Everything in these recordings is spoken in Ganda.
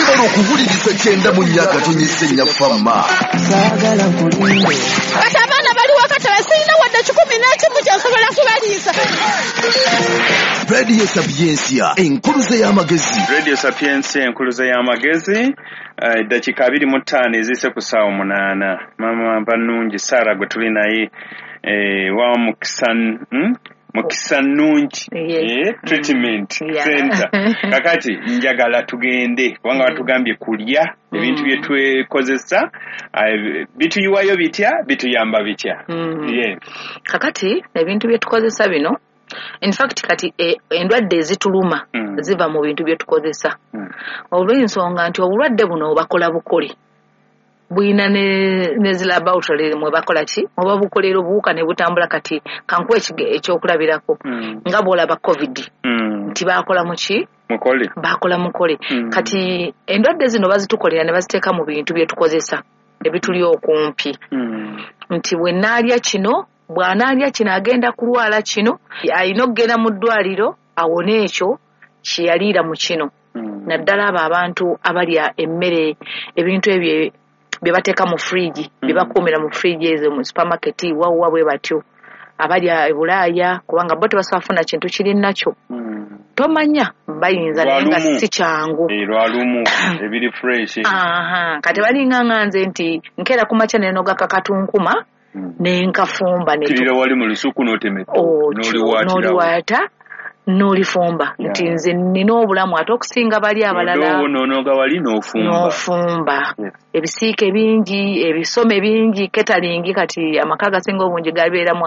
Webale okuwuliriza 94.4 Fama. Kati abaana bali wakatala sirina wadde 11 kyensobola kubaliisa. Radio Sapientia, enkuluze y'amagezi. Radio Sapientia, enkuluze y'amagezi. Eddakiika 25 eziyise ku ssaawa 8. Maama Nvannungi Sarah gwe tuli naye wa Mukisa Nnungi Treatment Center. Kakati njagala tugende kubanga batugambye kulya ebintu bye twekozesa bituyiwayo bitya, bituyamba bitya. Kakati ebintu bye tukozesa bino, in fact kati endwadde ezituluma ziva mu bintu bye tukozesa. Olw'ensonga nti obulwadde buno bakola bukole buyina ne zi laboratory mwe bakola ki, oba bukolera obuwuka ne butambula. Kati kankuwe ekyokulabirako nga bw'olaba COVID nti bakola muki, mukole, bakola mukole. Kati endwadde zino bazitukolera ne baziteeka mu bintu bye tukozesa ebituli okumpi, nti bwe naalya kino, bw'anaalya kino agenda kulwala kino, alina okugenda mu ddwaliro awone ekyo kye yaliira mu kino. Naddala abo abantu abalya emmere, ebintu ebyo bye bateeka mu fridge, bye bakuumira mu fridge ezo mu supermarket, wawwa bwe batyo abalya e Bulaaya, kubanga bo tebasobola kufuna kintu kiri nakyo. Tomanya bayinza naye nga si kyangu. Lwalumu ebiri fresh. Kati balinga nga nze nti nkeera ku makya nenoga kakatunkuma nenkafumba kirira wali mu lusuku n'otemeka n'oliwaata n'olifumba, nti nze nina obulamu ate okusinga bali abalala. N'onoga wali n'ofumba. Ebisiike bingi, ebisome bingi, ketalingi. Kati amaka agasinga obungi gabeeramu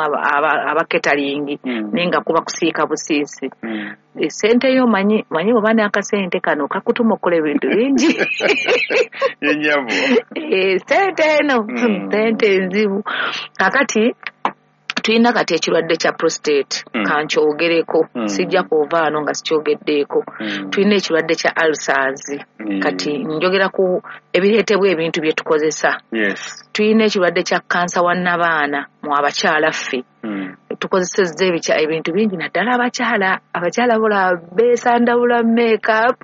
abaketalingi, naye nga kuba kusiika busiisi. Sente yo manyi oba n'akasente kano kakutuma okukola ebintu bingi. Sente eno sente enzibu. Kakati tulina kati ekirwadde kya prostate, kankyogereko, sijja kuva wano nga sikyogeddeeko. Tulina ekirwadde kya ulcers. Kati njogera ku ebireetebwa ebintu bye tukozesa. Tulina ekirwadde kya kansa wa nnabaana mu abakyala ffe. Tukozesezza ebintu bingi, naddala abakyala. Abakyala bola beesandabula makeup.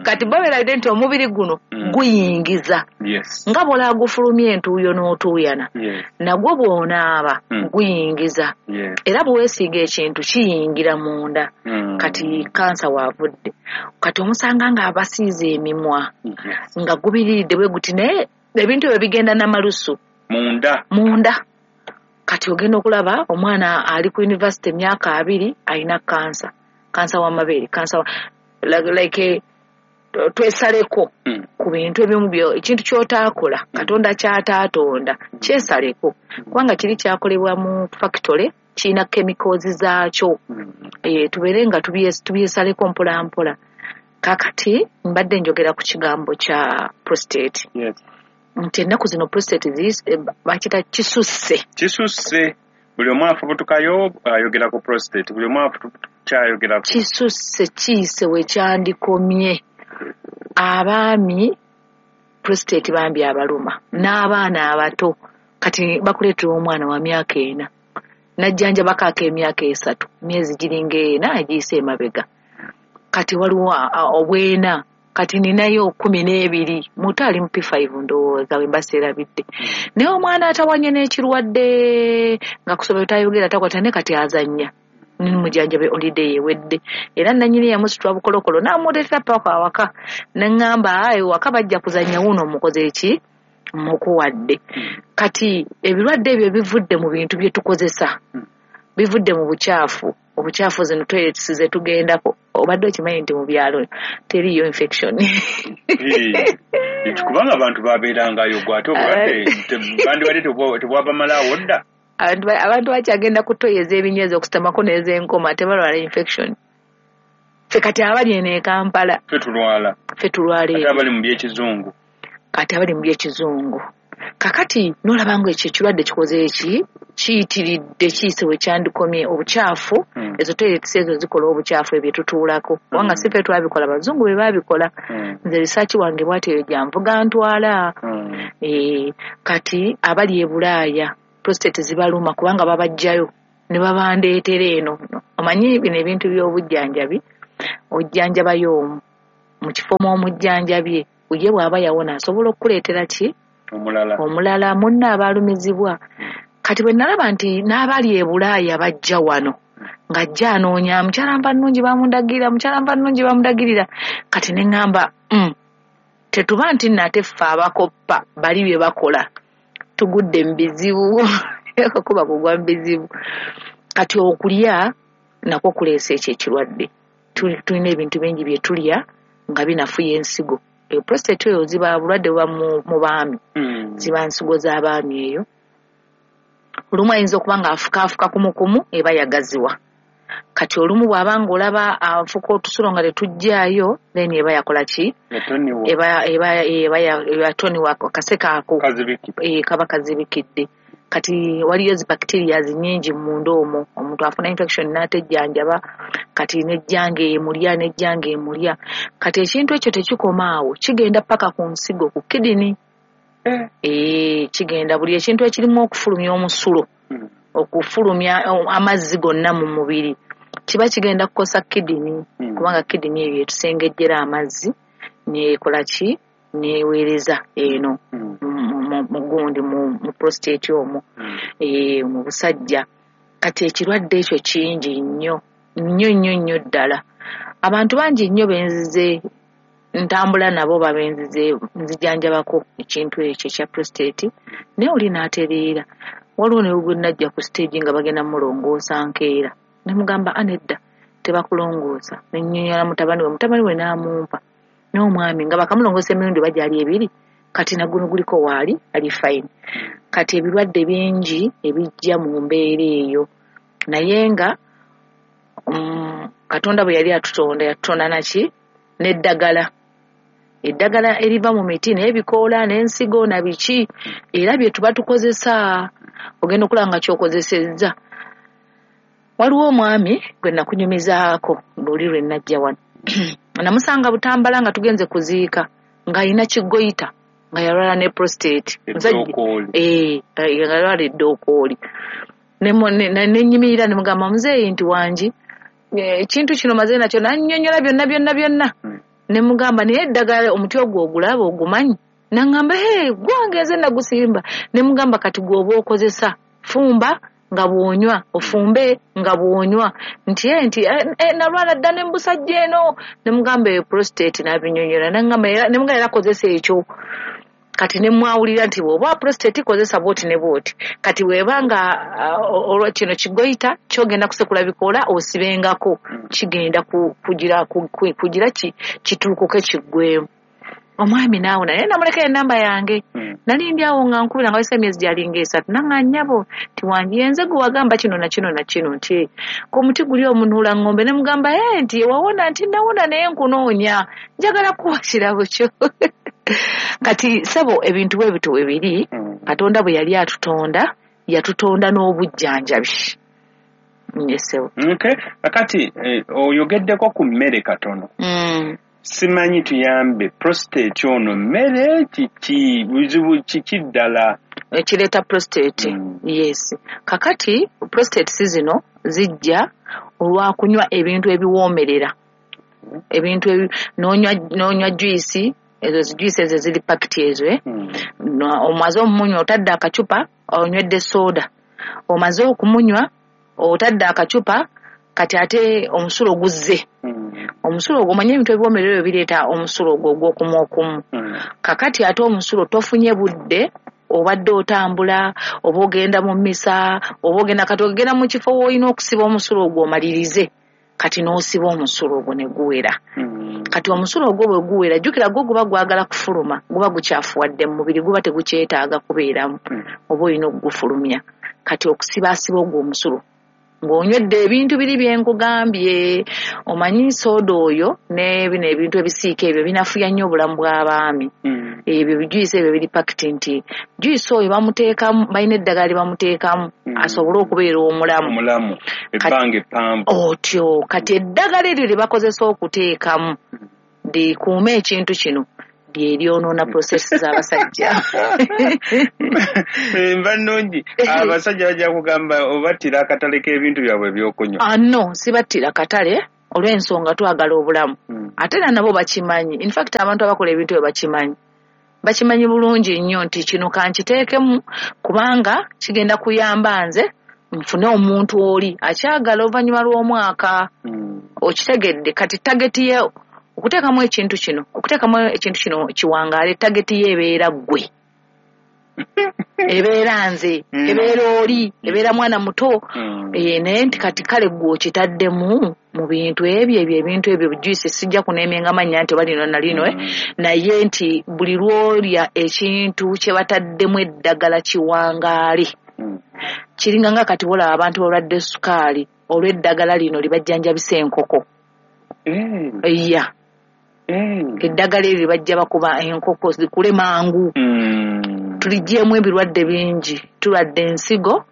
Kati babeeradde nti omubiri guno guyingiza. Nga bw'olaba gufulumya entuuyo n'otuuyana, nagwo bw'onaaba guyingiza. Era bwe weesiiga ekintu kiyingira munda. Kati kansa waavudde. Kati omusanga nga abasiize emimwa, nga gubiriridde bwe guti, naye ebintu ebyo bigenda n'amalusu munda. Kati ogenda okulaba omwana ali ku university emyaka 20 alina kansa, kansa w'amabeere, kansa like twesaleko ku bintu ebimu ekintu ky'otaakola, Katonda ky'ataatonda kyesaleko, kubanga kiri kyakolebwa mu factory, kirina chemicals zaakyo. Tubeere nga tubyesaleko mpola mpola. Kakati mbadde njogera ku kigambo kya prostate. Nti ennaku zino prostate bakita kisusse. Kisusse. Buli omu afubutukayo ayogera ku prostate. Buli omu afubutukyayogera ku kisusse, kiyise we kyandikomye. Abaami prostate bambi abaluma, n'abaana abato. Kati bakuleetera omwana wa myaka 4, najjanjabako ak'emyaka 3, myezi giringa 4 egiyise emabega. Kati waliwo obwena, kati ninayo 12, muto ali mu P5 ndowooza we mbaseerabidde. Naye omwana atawanye n'ekirwadde nga kusomero tayogera takwata, ne kati azannya. Nimujjanjabe holiday ewedde. Era nannyini yamusitula bukolokolo n'amuleetera paka awaka, ne ŋŋamba ewaka bajja kuzannya, wuuno omukoze eki mukuwadde. Kati ebirwadde ebyo bivudde mu bintu bye tukozesa, bivudde mu bukyafu. Obukyafu zino toilets ze tugendako, obadde okimanyi nti mu byalo teriiyo infection. Kubanga abantu babeerangayo gwe ate obulwadde bandibadde tebwabamalaawo dda. Abantu bakyagenda ku toyi ez'ebinyweza okusitamako n'ez'enkoma, tebalwala infection. Ffe kati abali eno e Kampala ffe tulwala. Ffe tulwala. Ate abali mu by'ekizungu. Kati abali mu by'ekizungu. Kakati n'olaba nga ekyo ekirwadde kikoze eki, kiyitiridde, kiyise we kyandikomye. Obukyafu, ezo toilets ezo zikola obukyafu ebyo tutuulako, kubanga si ffe twabikola, abazungu be baabikola. Nze research wange bw'atyo gyanvuga ntwala. Kati abali e Bulaaya prostate zibaluma kubanga babajjayo ne babandeetera eno. Omanyi bino ebintu by'obujjanjabi, ojjanjabayo omu mu kifo mw'omujjanjabye, ye bw'aba yawona asobola okukuleetera ki? Omulala munne abaalumizibwa. Kati bwe nalaba nti n'abali e Bulaaya bajja wano ng'ajja anoonya mukyala Nvannungi bamundagirira, mukyala Nvannungi bamundagirira, kati ne ŋŋamba tetuba nti nno ate ffe abakoppa bali bye bakola tugudde mu bizibu kuba kugwa mu bizibu. Kati okulya nakwo kuleesa ekyo ekirwadde. Tulina ebintu bingi bye tulya nga binafuya ensigo. Eyo prostate eyo ziba bulwadde buba mu baami, ziba nsigo z'abaami eyo. Olumu ayinza okuba nga afukaafuka kumukumu eba yagaziwa. Kati olumu bw'aba ng'olaba afuka otusulo nga tetujjaayo, then eba yakola ki? Eba yatoniwa akaseke ako kaba kazibikidde. Kati waliyo zi bacteria nnyingi munda omwo, omuntu afuna infection n'atejjanjaba, kati nejjanga emulya nejjanga emulya. Kati ekintu ekyo tekikoma awo, kigenda paka ku nsigo, ku kidney. Kigenda buli ekintu ekirimu okufulumya omusulo, okufulumya amazzi gonna mu mubiri, kiba kigenda kukosa kidney, kubanga kidney eyo etusengejjera amazzi neekola ki? Neeweereza eno mu gundi mu prostate omwo, mu busajja. Kati ekirwadde ekyo kingi nnyo nnyo nnyo nnyo ddala. Abantu bangi nnyo benzize ntambula nabo babenzize nzijanjabako ekintu ekyo ekya prostate, naye oli n'atereera. Waliwo ne gwe najja ku stage nga bagenda mulongoosa nkeera, ne mugamba anedda tebakulongoosa, ne nnyonnyola mutabani we n'amumpa n'omwami nga bakamulongoosa emirundi bagyali ebiri, kati naguno guliko waali ali fine. Kati ebirwadde bingi ebijja mu mbeera eyo, naye nga Katonda bwe yali atutonda yatutonda naki? N'eddagala. Eddagala eriva mu miti n'ebikoola n'ensigo na biki, era bye tuba tukozesa. Ogenda okulaba nga ky'okozesezza. Waliwo omwami gwe nakunyumizaako luli lwe najja wano, namusanga Butambala nga tugenze kuziika, ng'alina kigoyita, nga yalwala ne prostate, nga yalwala eddookooli. Ne nnyimirira ne mugamba, muzeeyi nti wangi ekintu kino maze nakyo, nannyonnyola byonna byonna byonna. Ne mugamba, naye eddagala omuti ogwo ogulaba ogumanyi? Naŋŋamba, he gwange nze nagusimba. Ne mugamba, kati gw'oba okozesa fumba nga bw'onywa, ofumbe nga bw'onywa. Nti nti nalwala dda ne mbusajja eno. Ne mugamba eyo prostate, n'abinyonnyola. Naŋŋamba ne mugamba era kozesa ekyo. Kati ne mwawulira nti bw'oba prostate kozesa bw'oti ne bw'oti. Kati bw'eba nga olwa kino kigoyita kyogenda kusekula bikoola osibengako, kigenda kugira kituukuke kiggweemu. Omwami naawona, naye namulekera enamba yange. Nali ndi awo nga nkubira nga wayise emyezi gyalinga 3, naŋŋa nnyabo nti wangi yenze gwe wagamba kino na kino na kino, nti ku muti guli omunuula ŋŋombe. Ne mugamba nti wawona, nti nawona naye nkunoonya, njagala kuwa kirabo kyo. Kati ssebo ebintu bwe bityo bwe biri. Katonda bwe yali atutonda yatutonda n'obujjanjabi. Ssebo. Okay. Kakati oyogeddeko ku mmere katono. Simanyi tuyambe, prostate ono mmere kiki, buzibu kiki ddala ekireeta prostate? Yes, kakati prostate si zino zijja olwakunywa ebintu ebiwoomerera, ebintu n'onywa juice ezo, zi juice ezo ziri pakiti ezo, Omaze omumunywa otadde akacupa, onywedde soda, omaze okumunywa otadde akacupa, kati ate omusulo guzze. Omusulo ogwo, omanye ebintu ebiwoomerera ebyo bireeta omusulo ogwo ogw'okumu okumu. Kakati ate omusulo tofunye budde, obadde otambula, oba ogenda mu mmisa, oba ogenda, kati ogenda mu kifo w'olina okusiba omusulo ogwo omalirize, kati n'osiba omusulo ogwo ne guwera. Kati omusulo ogwo bwe guwera, jjukira gwo guba gwagala kufuluma, guba gukyafuwadde mu mubiri, guba tegukyetaaga kubeeramu, oba olina okugufulumya. Kati okusibaasiba ogwo omusulo ng'onywedde ebintu biri bye nkugambye, omanyi sooda oyo ne bino ebintu ebisiika ebyo binafuya nnyo obulamu bw'abaami. Ebyo bijuice ebyo biri pakiti, nti juice oyo bamuteekamu, balina eddagala lye bamuteekamu asobole okubeera omulamu. Omulamu ebbanga eppanvu. Otyo kati eddagala eryo lye bakozesa okuteekamu likuume ekintu kino lye lyonoona process z'abasajja. Nva nnungi, abasajja bajja kugamba obattira akatale k'ebintu byabwe ebyokunywa. Ah, no, sibattira katale. Olw'ensonga twagala obulamu. Ate era nabo bakimanyi. In fact abantu abakola ebintu ebyo bakimanyi. Bakimanyi bulungi nnyo nti kino kankiteekemu kubanga kigenda kuyamba nze nfune omuntu oli akyagala oluvannyuma lw'omwaka. Okitegedde kati target ye okuteekamu ekintu kino, okuteekamu ekintu kino kiwangaale, target ye ebeera ggwe. Ebeera nze, ebeera oli, ebeera mwana muto. Naye nti kati kale ggwe okitaddemu mu bintu ebyo ebintu ebyo juice sijja kuneemenga mannya nti oba lino na lino, naye nti buli lw'olya ekintu kye bataddemu eddagala kiwangaale. Kiringa nga kati wolaba abantu balwadde sukaali olw'eddagala lino libajjanjabisa enkoko. Iya. Eddagala eryo libajja bakuba enkoko zikule mangu. Tuligyemu ebirwadde bingi. Tulwadde ensigo,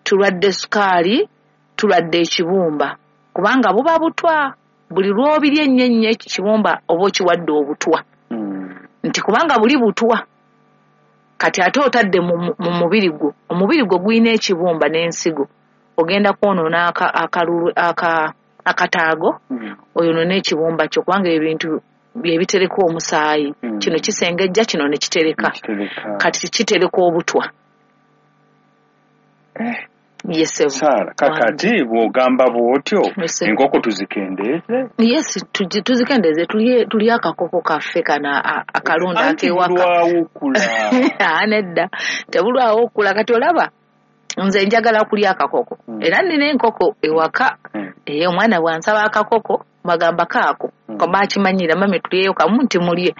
tulwadde sukaali, tulwadde ekibumba. Kubanga buba butwa. Buli lw'obirya ennyo ennyo ekibumba oba okiwadde obutwa. Nti kubanga buli butwa. Kati ate otadde mu mubiri gwo. Omubiri gwo gulina ekibumba n'ensigo. Ogenda kwonoona akataago, oyonoone ekibumba kyo kubanga ebintu bye bitereka omusaayi. Kino kisengejja, kino ne kitereka. Kati kitereka obutwa. Yes, Sara, kakati bw'ogamba bw'otyo enkoko tuzikendeeze? Yes, tuzikendeeze, tulye akakoko kaffe kano akalunda ak'ewaka. Bulwawo okula. Nedda, tebulwawo okula. Kati olaba nze njagala kulya akakoko. Era nnina enkoko ewaka. Omwana bw'ansaba akakoko bagamba kaako. Bakimanyira mami tulyeyo kamu nti mulye.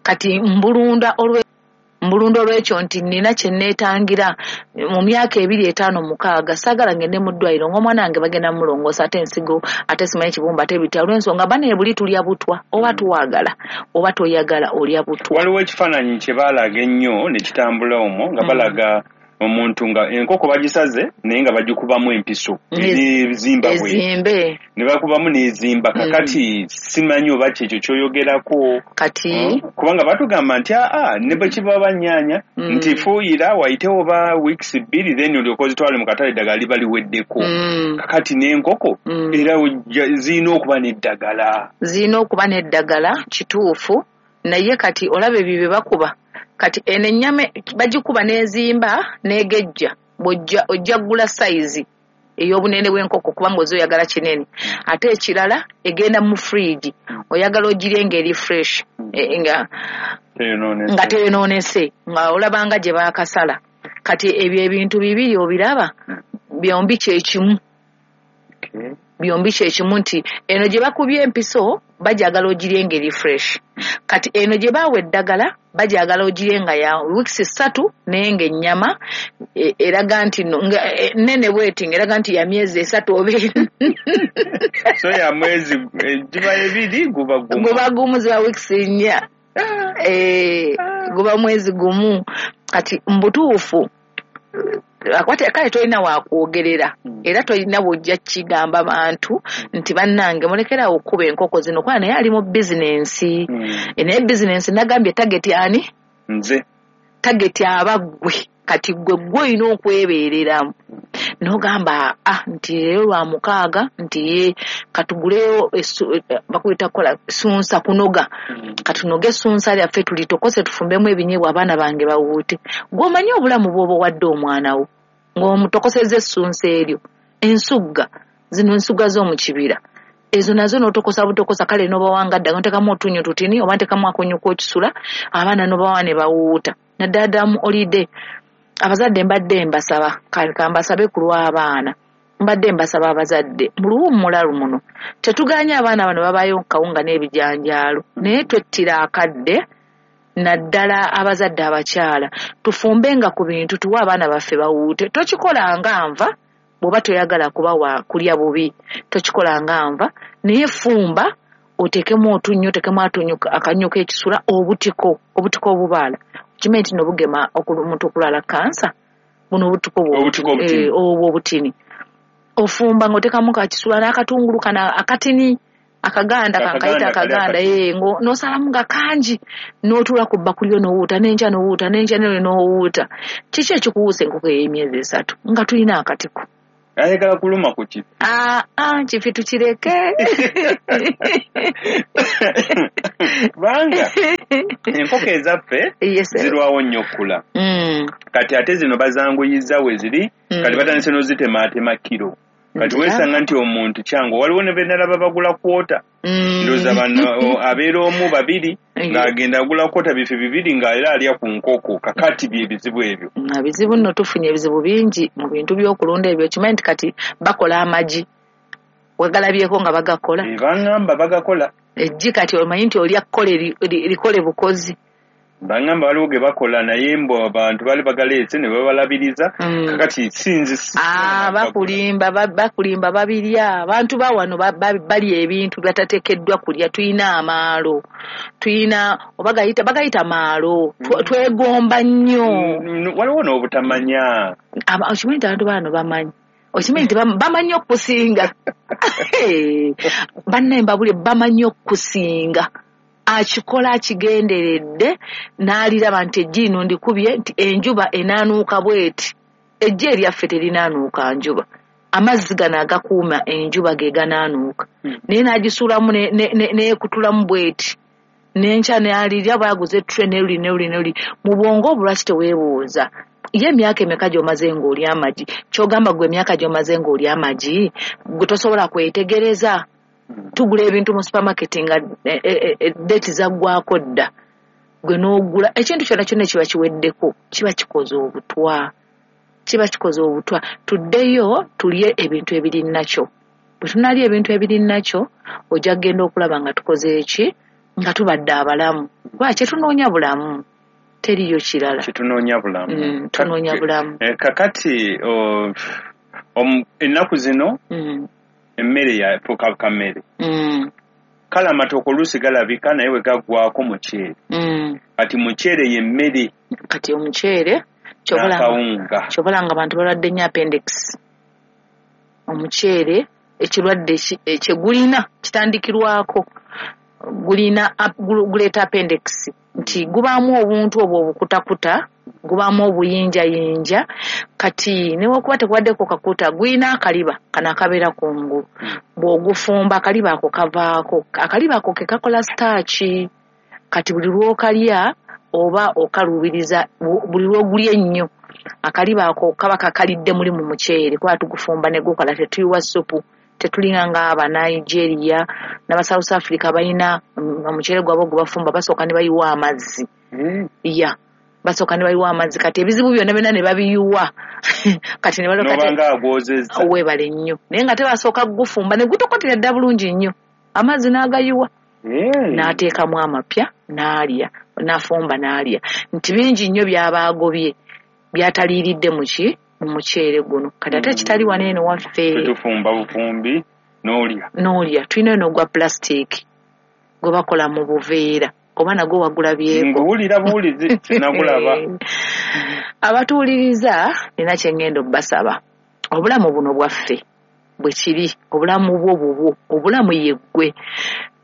Kati mbulunda olw'ekyo nti nnina kye neetangira mu myaka 2, 5, 6 saagala ngende mu ddwaliro ng'omwana wange bagenda mulongoosa ate ensigo ate simanyi kibumba ate bitya olw'ensonga bane buli tulya butwa oba tuwagala oba toyagala olya butwa. Waliwo ekifaananyi kye baalaga ennyo ne kitambula omwo nga balaga omuntu nga enkoko bagisaze naye nga bagikubamu empiso ezimba ezimbe ne bakubamu n'ezimba. Kakati simanyi oba kyekyo ky'oyogerako kati kubanga batugamba nti ne bwe kiba bannyaanya nti fuuyira wayitewo oba weeks 2 then olyoke ozitwale mu katale eddagala liba liweddeko. Kakati n'enkoko era zirina okuba n'eddagala. Zirina okuba n'eddagala kituufu, naye kati olaba ebyo bye bakuba. Kati eno ennyama bagikuba n'ezimba n'egejja, ojja ggula sayizi ey'obunene bw'enkoko kubanga oze oyagala kinene. Ate ekirala egenda mu fridge, oyagala ogirye ng'eri fresh, nga teyonoonese, nga olabanga gye baakasala. Kati ebyo ebintu bibiri obiraba byombi kyekimu. Byombi kyekimu nti eno gye bakubye empiso bajagala ogirye ng'eri fresh. Kati eno gye baawa eddagala bajagala ogirye nga ya weeks 3 naye ng'ennyama eraga nti nene bweti ng'eraga nti ya myezi 3 oba so ya mwezi giba 2 guba gumu. Guba gumu ziba weeks 4. Guba mwezi gumu. Kati mbutuufu akwate kale tolina wakwogerera era tolina bw'ojja kigamba bantu nti bannange mulekerawo okkuba enkoko zino kuba naye ali mu bizinensi. Naye bizinensi nagambye target ani? Nze. Target aba ggwe. Kati ggwe ggwe olina okwebeereramu. N'ogamba nti leero lwa mukaaga nti ye katuguleyo bakuyita kukola sunsa kunoga. Katunoge sunsa lyaffe tulitokose tufumbemu ebinyeebwa abaana bange bawuute. Gw'omanyi obulamu bw'oba owadde omwana wo ng'omutokosezza essunsa eryo, ensugga zino ensugga z'omu kibira ezo nazo n'otokosa butokosa kale n'obawanga dda n'oteekamu otunnyo tutini oba nteekamu akonyo k'okisula abaana n'obawa ne bawuuta. Naddala ddala mu holiday abazadde mbadde mbasaba kambasabe ku lw'abaana mbadde mbasaba abazadde mu luwummula luno tetuganye abaana bano babaayo kawunga n'ebijanjaalo naye twettira akadde naddala abazadde abakyala tufumbenga ku bintu tuwe abaana baffe bawuute. Tokikolanga nva bw'oba toyagala kubawa kulya bubi, tokikolanga nva naye fumba oteekemu otunnyo, oteekemu akannyo k'ekisula, obutiko obubaala. Okimanyi nti nobugema omuntu okulwala kansa buno obutiko obwo obutini ofumba ng'oteekamu kakisula n'akatungulu kano akatini akaganda kankayita akaganda n'osalamu nga kangi n'otuula ku bbakuli yo n'owuuta n'enkya n'owuuta n'enkya n'owuuta. Kiki ekikuwuusa enkoko ey'emyezi 3 nga tulina akatiko? Ayagala kuluma ku kifi. Kifi tukireke. Kubanga enkoko ezaffe zirwawo nnyo okukula. Kati ate zino bazanguyiza we ziri, kati batandise n'ozitemaatema kiro. Kati weesanga nti omuntu kyangu, waliwo ne benalaba bagula kwota. Ndowooza bano abeera omu babiri ng'agenda agula kwota bifi bibiri ng'era alya ku nkoko. Kakati bye bizibu ebyo. Bizibu nno, tufunye ebizibu bingi mu bintu by'okulunda ebyo. Kimanyi nti kati bakola amagi, wegalabyeko nga bagakola. Bangamba bagakola. Eggi kati omanyi nti olya kkole likole bukozi. Bangamba waliwo ge bakola naye mbu abantu bali bagaleese ne babalabiriza. Kakati sinzi. Bakulimba babirya. Abantu ba wano balya ebintu batateekeddwa kulya. Tuyina amaalo, tuyina bagayita maalo. Twegomba nnyo. Waliwo n'obutamanya. Okimanyi nti abantu bano bamanyi. Okimanyi nti bamanyi okusinga. Bannaye mbabulye, bamanyi okusinga. Akikola akigenderedde n'aliraba nti eggi lino ndikubye nti enjuba enaanuuka bw'eti. Eggi eryaffe terinaanuuka njuba. Amazzi gano agakuuma enjuba ge ganaanuuka. Naye n'agisuulamu neekutulamu bw'eti. N'enkya n'alirya bw'aguze ettule n'eruli n'eruli n'eruli. Mu bwongo obwo lwaki teweebuuza? Ye emyaka emeka gy'omaze ng'olya amagi? Ky'ogamba ggwe emyaka gy'omaze ng'olya amagi, gwe tosobola kwetegereza? Tugula ebintu mu supermarket nga date zaggwako dda, gwe n'ogula ekintu kyonna kyonna kiba kiweddeko, kiba kikoze obutwa, kiba kikoze obutwa. Tuddeyo tulye ebintu ebiri nakyo. Bwe tunaalya ebintu ebiri nakyo, ojja kugenda okulaba nga tukoze eki, nga tubadde abalamu. Kuba kyetunoonya bulamu, teriyo kirala. Kyetunoonya bulamu. Tunoonya bulamu. Kakati ennaku zino emmere yafuuka kammere. Kale amatooke oluusi galabika naye bwe gaggwako muceere. Kati muceere ye mmere. Kati omuceere kyobola nga abantu balwadde nnyo appendix. Omuceere ekirwadde kye gulina kitandikirwako, gulina guleeta appendix nti gubaamu obuntu obwo obukutakuta, gubaamu obuyinjayinja. Kati newakuba tekubaddeko kakuta, gulina akaliba kano akabeera kungulu. Bw'ogufumba akaliba ako kavaako, akaliba ako ke kakola starch. Kati buli lw'okalya oba okaluubiriza, buli lw'ogulya ennyo akaliba ako kaba kakalidde muli mu muceere, kuba tugufumba ne gukola, tetuyiwa ssupu. Tetulinga nga aba Nigeria n'aba South Africa balina omuceere gwabwe gwe bafumba basooka ne bayiwa amazzi. Ya, basooka ne bayiwa amazzi. Kati ebizibu byonna byonna ne babiyiwa. Kati ne balooka nobanga agwozezza. Weebale nnyo. Naye nga tebasooka kugufumba ne gutokotera dda bulungi nnyo. Amazzi n'agayiwa. N'ateekamu amapya n'alya, n'afumba n'alya. Nti bingi nnyo by'aba agobye byataliiridde mu ki? Mu muceere guno. Kati ate kitali wano eno waffe. Tufumba bufumbi n'olya. N'olya. Tulina eno ogwa plastic gwe bakola mu buveera. Oba nagwo wagulabyeko. Nguwulira buwulizi sinagulaba. Abatuwuliriza nina kye ŋŋenda obbasaba. Obulamu buno bwaffe bwe kiri, obulamu bwo bubwo, obulamu ye ggwe.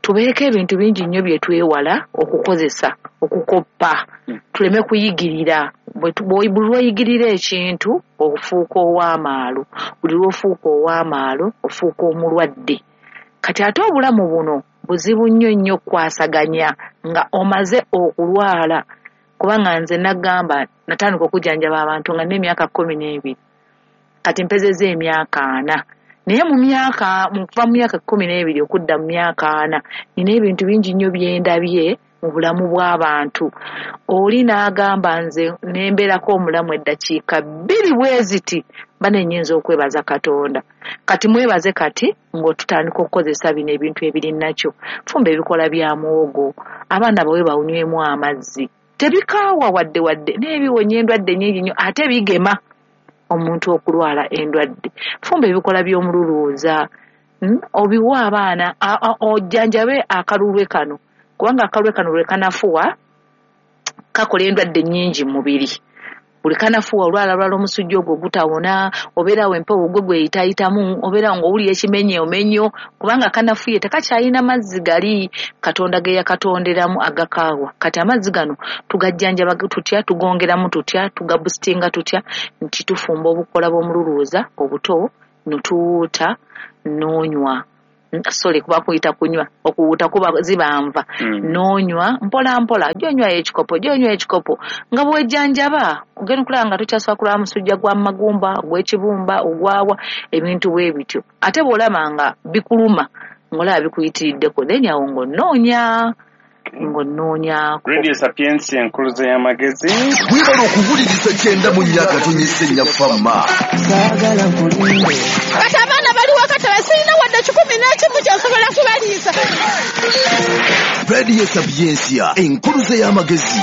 Tubeeko ebintu bingi nnyo bye twewala okukozesa, okukoppa, tuleme kuyigirira. Buli lw'oyigirira ekintu ofuuka ow'amaalo, buli lw'ofuuka ow'amaalo ofuuka omulwadde. Kati ate obulamu buno buzibu nnyo nnyo okukwasaganya nga omaze okulwala. Kubanga nze nagamba natandika okujjanjaba abantu nga n'emyaka 12, kati mpezezza emyaka 40. Naye mu myaka, kuva mu myaka 12 okudda mu myaka 40, nina ebintu bingi nnyo bye ndabye mu bulamu bw'abantu. Oli n'agamba nze nembeerako omulamu eddakiika 2 bwe ziti, bane nnyinza okwebaza Katonda. Kati mwebaze kati ng'otutandika okukozesa bino ebintu ebiri nakyo. Fumba ebikola bya muwogo, abaana bawe bawunywemu amazzi. Tebikaawa wadde wadde, n'ebiwonya endwadde nnyingi nnyo, ate bigema omuntu okulwala endwadde. Fumba ebikola by'omululuuza, obiwa abaana, ojjanjabe akalulwe kano. Kubanga akalulwe kano lwe kanafuwa kakola endwadde nnyingi mu mubiri. Buli kanafuwa olwala lwala omusujja ogwo gutawona, obeerawo empewo gwe gweyitayitamu, obeerawo ng'owulira ekimenye omenyo, kubanga kanafuye tekakyalina mazzi gali Katonda ge yakatonderamu agakaawa. Kati amazzi gano tugajjanjaba tutya, tugongeramu tutya, tugabusitinga tutya, nti tufumba obukola bw'omululuuza obuto Notuwuuta n'onywa, sorry, kuba kuyita kunywa, okuwuuta kuba ziba nva. N'onywa mpola mpola, gyonywayo ekikopo, gyonywa ekikopo nga bwejjanjaba, ogenda okulaba nga tokyasobola kulwala musujja gwa magumba, ogw'ekibumba, ogwawa, ebintu bwe bityo. Ate bw'olaba nga bikuluma, ng'olaba bikuyitiriddeko, then awo ng'onoonya Radio Sapientia, enkuluze y'amagezi. Webale okuwuliriza 94.4 Fama. Kati abaana bali waka tebasirina wadde 11 kyensobola kubaliisa. Radio Sapientia, enkuluze y'amagezi.